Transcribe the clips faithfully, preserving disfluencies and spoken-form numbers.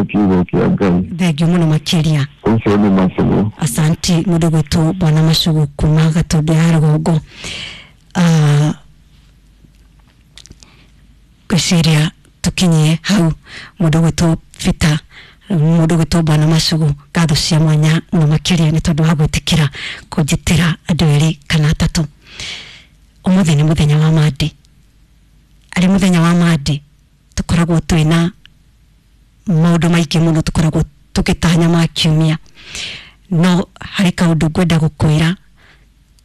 Tũthikĩrĩria kiugo kĩa Ngai. Thengio mũno makĩria. Ũcio nĩ Macugu. Asanti mũndũ gwĩtwo Bwana Macugu kuma Gatũndũ ya rũgongo. Ah, ngwĩciria tũkinyie hau. Mũndũ gwĩtwo Peter, mũndũ gwĩtwo Bwana Macugu, ngatho cia mwanya mũno makĩria nĩ tondũ wa gwĩtĩkĩra kũnjĩtĩra andũ erĩ kana atatũ. Ũmũthĩ nĩ mũthenya wa Monday. Arĩ mũthenya wa Monday tũkoragwo twĩna maũndũ maingĩ mũno tũkoragwo tũgĩtanya ma kiumia, no harĩ kaũndũ ngwenda gũkwĩra.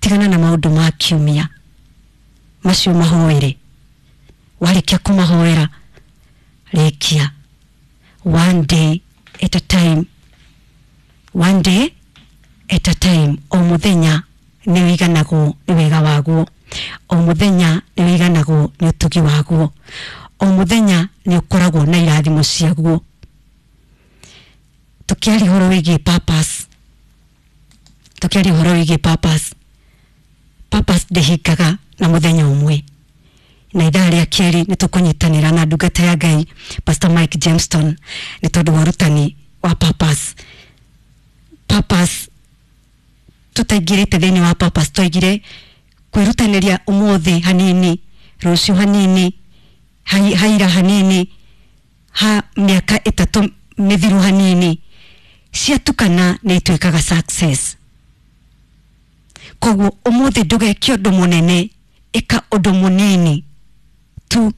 Tigana na maũndũ ma kiumia macio, mahoere. Warĩkia kũmahoera, rĩkia one day at a time, one day at a time. O mũthenya nĩ wĩiganagwo nĩ wega waguo, o mũthenya nĩ wĩiganagwo nĩ ũtugi waguo, o mũthenya nĩ ũkoragwo na irathimo ciaguo. Tũkĩaria ũhoro wĩgiĩ purpose, tũkĩaria ũhoro wĩgiĩ purpose, purpose ndĩhingaga na mũthenya ũmwe. Na ithaa rĩa kerĩ nĩ tũkũnyitanĩra na ndungata ya Ngai Pastor Mike Jameston nĩ tondũ wa ũrutani wa purpose. Purpose, tũtaingĩrĩte thĩinĩ wa purpose, twaigire kwĩrutanĩria ũmũthĩ hanini, rũciũ hanini, hai- haira hanini, ha mĩaka ĩtatũ mĩthiru hanini, ciatukana nĩ ituĩkaga success. Koguo ũmũthĩ ndũgeke ũndũ mũnene, ĩka ũndũ mũnini tu,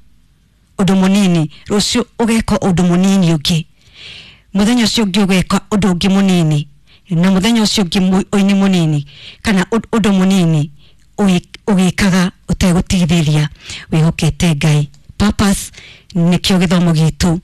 ũndũ mũnini. Rũciũ ũgeka ũndũ mũnini ũngĩ, mũthenya ũcio ũngĩ ũgeka ũndũ ũngĩ mũnini, na mũthenya ũcio ũngĩ mu- ũini mũnini kana ũndũ ũndũ mũnini, ũgĩ- ũgĩkaga ũtegũtigithĩria, wĩhokete Ngai. Purpose nĩkĩo gĩthomo gitũ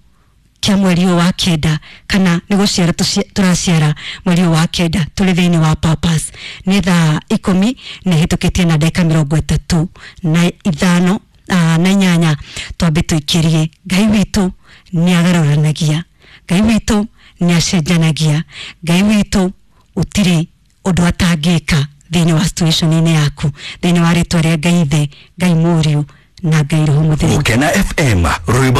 kĩa mweri ũyũ wa kenda, kana nĩ gũciara tũci- tũraciara mweri ũyũ wa kenda. Tũrĩ thĩinĩ wa purpose. Nĩ thaa ikũmi na ĩhĩtũkĩtie na ndagĩka mĩrongo ĩtatũ na ithano ah, na inyanya. Twambe tũikĩrie. Ngai witũ nĩ agarũranagia, Ngai witũ nĩ acenjanagia, Ngai witũ ũtirĩ ũndũ atangĩka thĩinĩ wa situation-inĩ yaku. Thĩinĩ wa rĩtwa rĩa Ngai Ithe, Ngai Mũriũ na Ngai Roho Mũtheru. Gukena F M, rwimbo.